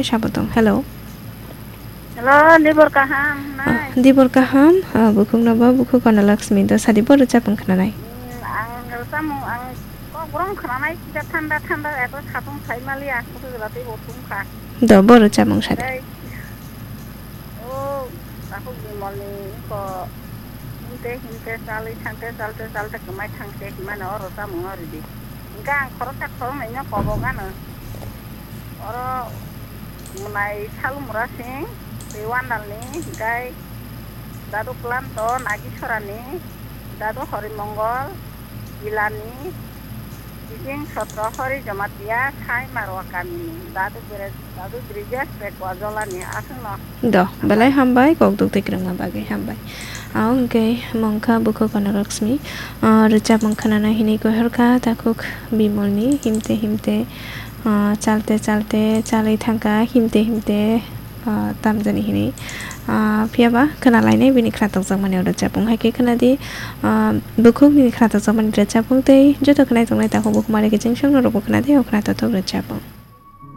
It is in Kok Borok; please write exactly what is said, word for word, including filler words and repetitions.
sabo tong. Hello. Hello, Dibor kaham, Ah, nai. Dibor kaham, ah, bukhuk no ba, bukhuk Anna Lakshmi do sadi bo rwchapung khwnanai. Hmm, ang rwchapung, ang kok rong khwnanai, kisa thanda thanda, eto satung sai mali, ang kutu jela tei bo thum kha. Do bo rwchapung sadi. Dai. O, takhuk Bimolni ko himte himte, chalwi thangte, chalte chalte, kwmai thangse himano o rwchapung no ridi. Hingke ang khoroksa khoroknwi no kobok ano. Oro mwnai Salumura Singh, tei Wandalni, hingkai Dadu Klanto, Nagisorani, Dadu Horimongol, Jilani, Bising Sotro Hori Jamatia, Sai Marwa Kamini, Dadu Bire-, Dadu Brijesh Pekwa Jolani, aswkno. Do, belai hambai, kok duk tei kwrwngma bagwi hambai. Ang hwnkhe mungkha bukhuk Anna Lakshmi, ah, rwchapmung khwnana hinwi gohorkha, takhuk Bimolni himte himte, ah, chalte chalte chalwi thangkha, himte himte, ah, tamjani hinwi. Ah, phiyaba khwnalainai bini khwnathokjakmani o rwchapmung, hai khe khwnadi, ah, bukhuk nini khwnathokjakmani rwchapmung tei joto khwnai tongnai takhuk bukhuk mare kiching songno rwbo khwnadi o khwnathok rwchapmung.